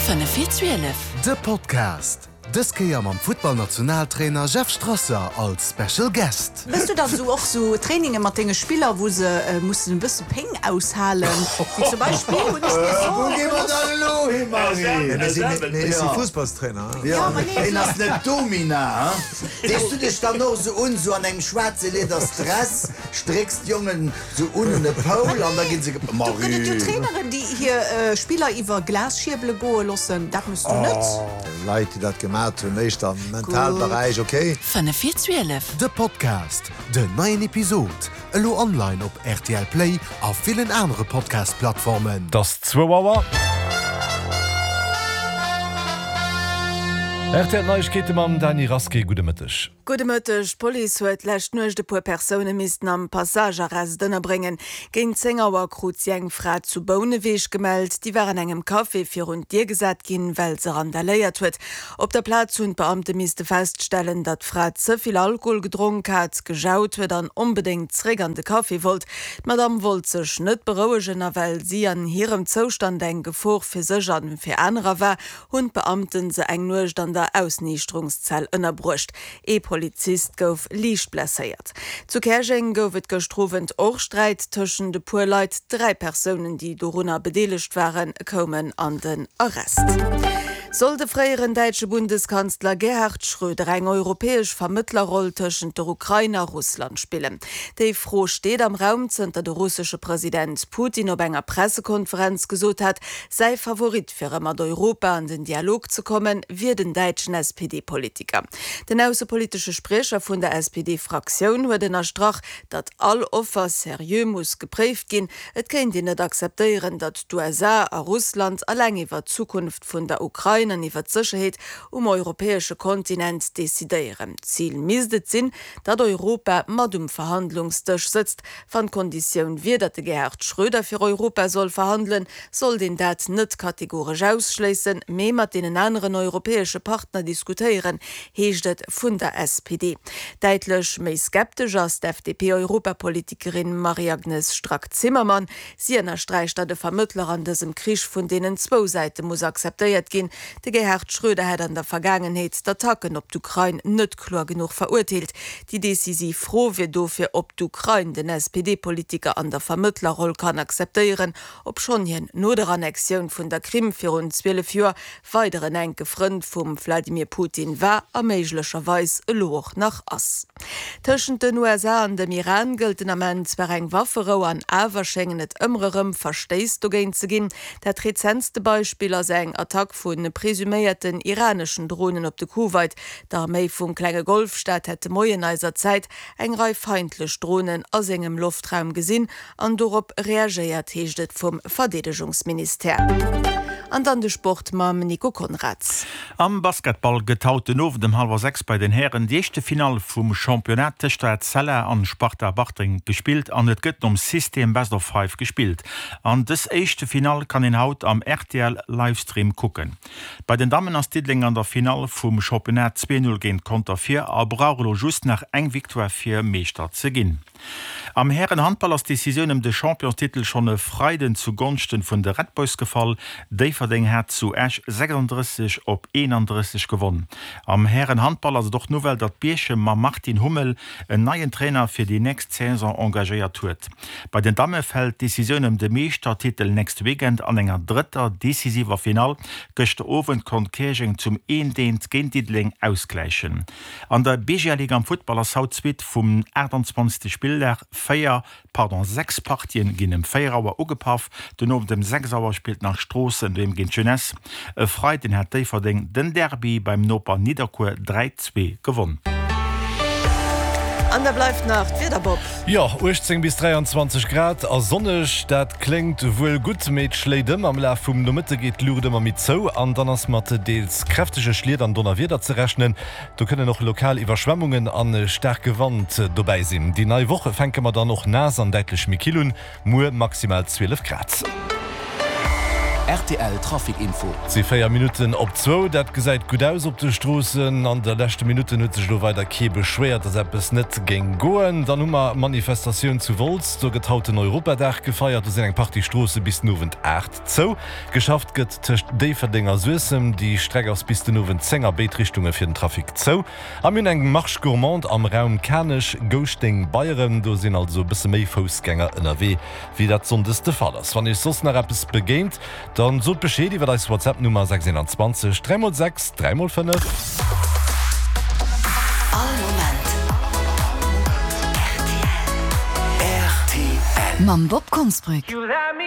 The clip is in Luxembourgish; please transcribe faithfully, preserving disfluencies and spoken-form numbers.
Fënnef vir zwielef. De Podcast, dës Kéier mam Futtballnationaltrainer Jeff Strasser als Special Guest. Méchs du dann sou och sou Traininge mat denge Spiller, wou se mussen e bësse Péng aushalen, wéi zum Beispill hunn ech mir soe Wou gi mer gelooss. dann elo hin, Marie? Mir si Fussballstrainer. Jo, ma nee, hien ass net Domina, hein? Dees du dech dann och sou un, sou an engem schwaarze Lieders Dress, strécks d'Jongen sou un un e Poul an da ginn se ge. Do gëtt et jo Marie! Traineren, déi hir Spiller iwwer Glasschierbele goe loossen. Dat méchs du net. Leit, déi dat gemat hunn, éischter am Mentalberäich, ok. Fënnef vir zwielef. De Podcast, Den neien Episod elo online op rtl Play a villen anere Podcast-Plattformen. 't ass zwou Auer. Rtl Neiegkeete mam Dany Rasqué. Gudde Mëtteg. Gudde Mëtteg. D'Police huet d'lescht Nuecht e puer Persoune missten am Passagearrest ënnerbréngen. Géint zéng Auer krut si eng Fra zu Bouneweg gemellt. Déi war an engem Café virun d'Dier gesat ginn, well se randaléiert huet. Op der Plaz hunn d'Beamte misste feststellen, datt d'Fra ze vill Alkohol gedronk hat, gejaut huet an onbedéngt zeréck an de Café wollt. D'Madamm wollt sech net berouegen a well si an hirem Zoustand eng Gefor fir sech a fir anerer war, hunn d'Beamte se eng Nuecht an der Ausniichterungszell ënnerbruecht. Ee Polizist gouf liicht blesséiert. Zu Käerjeng gouf et gëschter Owend och Sträit tëschent e puer Leit. Dräi Persounen, déi dorunner bedeelegt waren, koumen an den Arrest. Soll de fréieren däitsche Bundeskanzler Gerhard Schröder eng europäesch Vermëttlerroll tëschent der Ukrain a Russland spillen? Déi Fro steet am Raum, zënter de russesche President Putin op enger Pressekonferenz gesot hat, säi Favorit fir erëm mat Europa an den Dialog ze kommen, wier den däitschen S P D-Politiker. Den aussepolitesche Spriecher vun der S P D-Fraktioun huet ënnerstrach, datt all Offer seriö muss gepréift ginn. Et kéint een net akzeptéieren, datt d'U S A a Russland eleng iwwer d'Zukunft vun der Ukrain an iwwer d'Sécherheet um europäesche Kontinent decidéieren. Zil misst et sinn, datt Europa mat um Verhandlungsdësch sëtzt. Wann d'Konditioun wier, datt de Gerhard Schröder fir Europa soll verhandelen, sollt een dat net kategoresch ausschléissen, mee mat deenen aneren europäesche Partner diskutéieren, heescht et vun der S P D. Däitlech méi skeptesch ass d'F D P-Europapolitikerin Marie-Agnes Strack-Zimmermann. Si ënnersträicht, datt e Vermëttler an dësem Krich vun deenen zwou Säite muss akzeptéiert ginn. De Gerhard Schröder hätt an der Vergaangenheet d'Attacken op d'Ukrain net kloer genuch verurteelt. Déi decisiv Fro wier dofir, ob d'Ukrain den S P D-Politiker an der Vermëttlerroll kann akzeptéieren, obschonn hien no der Annexioun vun der Krim virun zwielef Joer weider en enke Frënd vum Wladimir Putin war a méiglecherweis elo och nach ass. Tëschent den U S A an dem Iran gëllt den Ament zwar eng Wafferou an awer schéngen et ëmmer erëm Verstéiss dogéint ze ginn. Dat rezentste Beispill ass eng Attack vu presuméierten iraneschen Dronen op de Kuwait. D'Arméi vum klenge Golfstaat hätt de Moien eiser Zäit eng Rei feindlech Dronen a sengem Loftraum gesinn an dorop reagéiert, heescht et vum Verdeedegungsministère. An dann de Sport mam Nico Konrads. Am Basketball gëtt haut den Owend um hallwer sechs bei den Hären déi éischte Finall vum Championnat tëscht der Etzella an Sparta Bartreng gespillt an et gëtt nom System Best of Five gespillt. An dës éischte Finall kann een haut am R T L Livestream kucken. Bei den Dammen ass Diddeleng an der Finall vum Championnat zwee null géint Conter vir a brauch elo just nach eng Victoire fir Meeschter ze ginn. Am Härenhandball ass d'Decisioun ëm de Championstitel schonn e Freiden zu Gonschten vun de Red Boys gefall. Déifferdeng hat zu Esch sechsunddrësseg op eenandrësseg gewonnen. Am Härenhandball ass et och d'Nouvelle, datt Bierchem mam Martin Hummel en neien Trainer fir déi nächst Saison engagéiert huet. Bei den Damme fält d'Decisioun ëm de Meeschtertitel nächste Weekend an enger drëtter decisiver Finall. Gëschter Owend konnt Käerjeng zum Eendeent géint Diddeleng ausgläichen. An der B G A Liga am Futtball ass haut d'Suite vum achtundzwanzegste Spilldag. Véier, pardon, sechs Partien ginn ëm véier Auer ugepaff. Den Owend ëm sechs Auer spillt nach Stroossen doheem géint Jeunesse. E Freiden hat Déifferdeng den Derby beim Noper Nidderkuer dräi zwee gewonnen. An da bleift nach d'Wieder, Bob. Jo, uechtzéng bis dräianzwanzeg Grad a sonneg, dat kléngt wuel gutt, mee et schléit ëm. Am Laf vum Nomëtte geet d'Luucht ëmmer méi zou an dann ass mat deels kräftege Schliet an Donnerwieder ze rechnen. Do kënnen och lokal Iwwerschwemmungen an staarke Wand dobäi sinn. Déi nei Woch fänke mer dann och naass an däitlech méi kill un, muer maximal zwielef Grad. Rtl Trafic Info. Et si véier Minutten op zwou. Dat gesäit gutt aus op de Stroossen. An de leschte Minutten huet sech elo weider kee beschwéiert, dass eppes net géing goen. Dann hu mer Manifestatioun zu Wolz. Do gëtt haut den Europadag gefeiert. Do sinn eng Partie Stroosse bis den Owend aacht zou. Geschafft gëtt tëscht Déifferdeng a Suessem. Déi Streck ass bis den Owend zéng a béid Richtunge fir den Trafic zou. A mir hunn eng Marche gourmande am Raum Kanech, Gouschteng, Beyeren. Do sinn also e bësse méi Foussgänger ënnerwee, wéi dat sonndes de Fall ass. Wann Iech soss nach eppes begéint, dann sot Bescheed iwwer eis WhatsApp Nummer sechs einundzwanzeg dräi mol sechs dräi mol fënnef. All Moment rtl. Mam Bob Konsbrück.